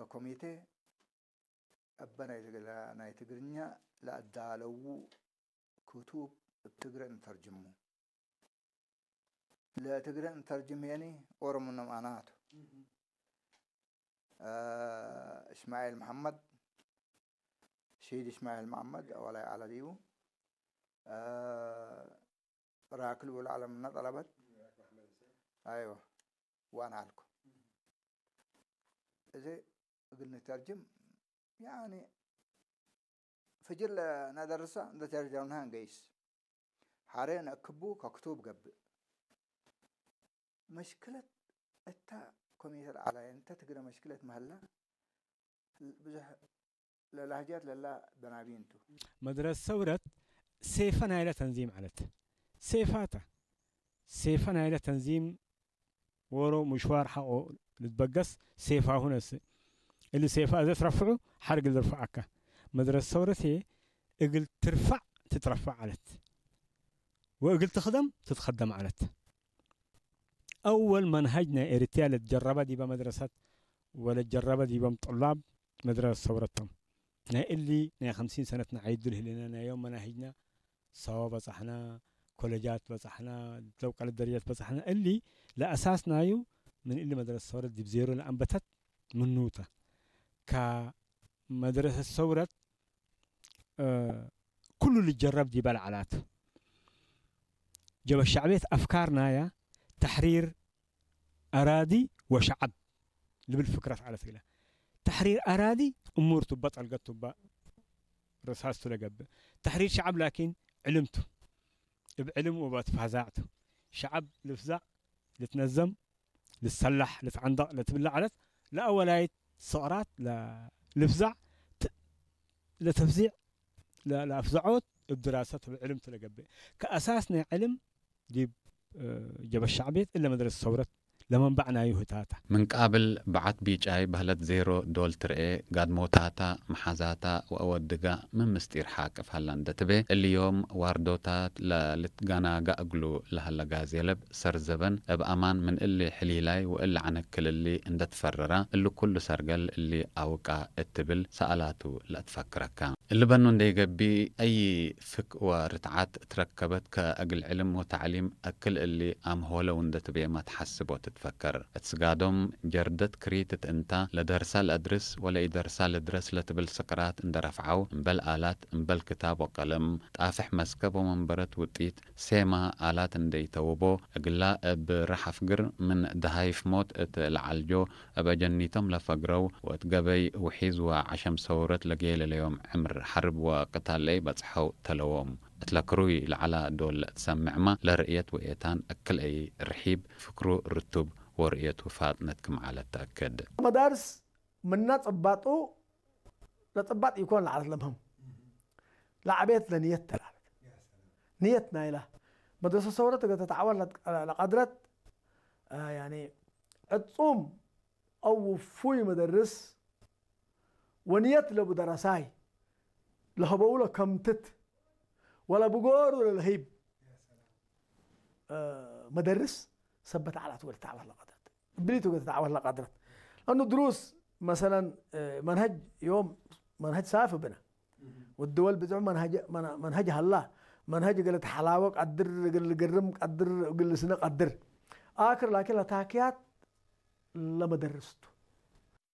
ኮሚቴ እበ ናይ ትግላ-፣ ናይ ትግርኛ ለኣዳለዉ ክቱብ እብ ትግረ እንተርጅሙ። ለትግረ እንተርጅም የኒ ኦሮሞ ነም ኣናቱ። እ፣ እስማኤል መሐመድ፣ ሸሂድ እስማኤል መሐመድ፣ ኣዋላይ ዓለ ዲቡ። እ፣ ራክል ውል ዓለምና ጠለበት። ኣይዋ፣ ዋና ኣልኩ። እዚ እግል ንተርጅም፣ ያኒ፣ ፍጅር ለነደርሳ እንደ ተርጀምናሃ እንገይስ። ሐሬ ነእክቡ ከክቱብ ገብእ። መሽክለት እታ ኮሚቴ ለዓላየ እንተ ትግረ መሽክለት መህላ ብዙሕ ለላህጃት ለላ በናቢንቱ። መድረስ ሰውረት ሴፈ ናይለ ተንዚም ዓለት። ሴፋታ። ሴፈ ናይለ ተንዚም ወሮ ምሽዋር ሓቆ ልትበገስ ሴፋሁ ነስ። እሊ ሴፋ እዘ ትረፍዑ ሓርግ ልርፍዓካ። መድረስ ሰውረት እየ እግል ትርፋዕ ትትረፋዕ ዓለት። ወእግል ትኽደም ትትኸደም ዓለት። ኣወል መንሃጅ ናይ ኤርትያ ለትጀረበ ዲበ መድረሰት ወለትጀረበ ዲቦም ጡላብ መድረሰት ሰውረቶም። ናይ እሊ ናይ ኸምሲን ሰነት ንዓይዱ ልህሌና ናይ ዮም መናሂጅና ሰዋ በጻሕና፣ ኮለጃት በጻሕና፣ ለውቀለት ደረጃት በጻሕና። እሊ ለአሳስ ናዩ ምን እሊ መድረሰት ሰውረት ዲብ ዜሮ ለአንበተት ምኑተ። ከመድረሰት ሰውረት እ፣ ኩሉ ልጀረብ ዲበ ለዓላት። ጀበ ሸዕብየት አፍካር ናያ ተሕሪር አራዲ ወሸዐብ ልብል ፍክረት ዓለት እግለ። ተሕሪር አራዲ እሙር ቱባ ጠልገት ቱባ ርሳስቱ ለገብእ። ተሕሪር ሸዐብ ላኪን ዕልምቱ። እብ ዕልም ወበትፋዛዕቱ። ሸዐብ ልፍዛዕ ልትነዘም ልትሰላሕ፣ ልትዓንደቕ፣ ለትብላዕ ዓለት፣ ለአወላይት ስቕራት፣ ለ-፣ ልፍዛዕ፣ ት-፣ ለተፍዚዕ፣ ለ-፣ ለአፍዘዖት፣ እብ ድራሰት፣ እብ ዕልም ትለገብእ። ከአሳስ ናይ ዕልም ዲብ፣ እ፣ ጀበ ሸዕብየት እለ መድረሰት ሰውረት ለመንባዕ ናዩ ህታታ። ምን ቃብል በዓት ቢጫይ በህለት ዜሮ ዶል ትርኤ፣ ጋድሞታታ፣ መሓዛታ ወአወድጋ ምን ምስጢር ሓቅፍ ሀላ እንደ ትቤ፣ እሊ ዮም ዋርዶታት ለልትጋናጋ እግሉ ለሀለ ጋዜለብ ሰርዘበን እብ አማን ምን እሊ ሕሊላይ ወእሊ ዐነክል እሊ እንደ ትፈረራ፣ እሊ ኩሉ ሰርገል እሊ አውቃ እት ትብል ሰአላቱ ለአትፈክረካ። እሊ በኑ እንደ ይገቢ፣ አይ ፍክ ወርትዓት ትረከበት ከእግል ዕልም ወተዕሊም አክል እሊ አምሆለው እንደ ትቤ ማ ተሐስብ ወትትፈከር። እት ስጋዶም ጀርደት ክሪት እት እንታ፣ ለደርሳ ለአድርስ ወለኢደርሳ ልድረስ ለትብል ስቅራት እንደ ረፍዓው፣ እምበል አላት፣ እምበል ክታብ ወቀለም፣ ጣፍሕ መስከብ ወመንበረት ውጢት፣ ሴማ አላት እንደ ኢተውቦ፣ እግላ እብ ረሐፍ ግር ምን ደሃይፍ ሞት እት ለዓልጆ፣ እብ አጀኒቶም ለፈግረው ወእት ገበይ ውሒዝ ወዐሸም ሰውረት ለጌለለዮም ዕምር ሐርብ ወቅታል ለኢበጽሐው ተለዎም። እትለ ክሩይ ለዐላ ዶል ለእትሰምዕማ ለርእየት ወኤታን እክል አይ ርሒብ ፍክሩ ርቱብ ወርእየቱ ፋጥነት ክም ዐለት ተአክድ። መዳርስ ምና ጽባጡ ለጽባጥ ኢኮን ለዐለት ለምህም ለዐቤት ለንየት ተላለት ንየት ናይላ መድረሰ ሰውረት እገ ተተዓወት ለቀድረት፣ አ፣ ያኒ ዕጹም አው ውፉይ መደርስ ወንየት ለቡ ደረሳይ ለሀበው ለከምትት ወለብጎሩ ለለህይብ፣ እ፣ መደርስ ሰበት ዓላት ወልተዓወት ለቀድረት። እብሊቱ ወልተዓወት ለቀድረት። ለአኑ ድሩስ መሰለን፣ እ፣ መንሀጅ ዮም መንሀጅ ሳፍ ብነ። ወድወል ብዝሑ መንሀጅ፣ መን-፣ መንሀጅ ሀላ። መንሀጅ እግል ተሐላወ ቀድር፣ እግል ግርም ቀድር፣ እግል ስነ ቀድር። አክር ላኪን ለታክያት ለመደርስቱ።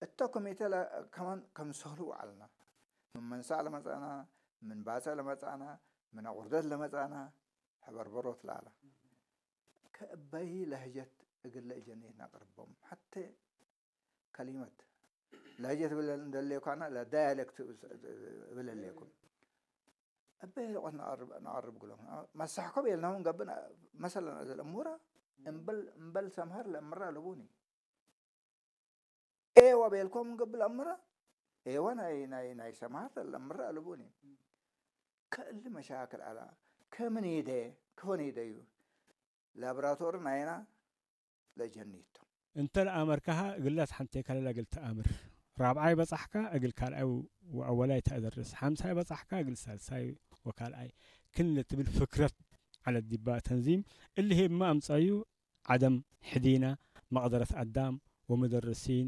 እተ ኮሚቴ ለ-፣ ከማን ከምሰሉ ወዐልና። ምን መንሳእ ለመጻና፣ ምን ባጸዕ ለመጻና፣ ምን አቁርደት ለመጻና፣ ሐበርበሮት ለአላ። ከእበይ ለህጀት እግል ለእጀኒት ነቅርቦም። ሐቴ ከሊመት ለህጀት እብል እንደሌኳና ለዳያሌክት እብል ሌኩም። እበይ ሎቆት ነቀርብ፣ ነቀርብ ግሎም። መሳሕኮ ቤልናሁን ገብእ መሰለን እዘል እሙራ እምበል፣ እምበል ሰምሃር ለእምራ ለቡኒ። ኤወ ቤልኮም እንገብእ ለእምረ፣ ኤወ ናይ፣ ናይ፣ ናይ ሰማህት ለእምረ አልቡኒ። ከእሊ መሻክል አላ፣ ከምን ይደ፣ ከሆን ይደዩ። ላብራቶር ናይና ለጀኒቶ። እንተ ለአመርካሃ እግላት ሐንቴ ከለላ እግል ተአምር። ራብዓይ በጻሕካ እግል ካልኣይ ወአወላይ ተአደርስ። ሐምሳይ በጻሕካ እግል ሳልሳይ ወካልኣይ። ክን ለትብል ፍክረት ዐለት ዲባ ተንዚም እሊ ሄብማ አምጻዩ ዐደም ሕዲና መቅደረት አዳም ወመደርሲን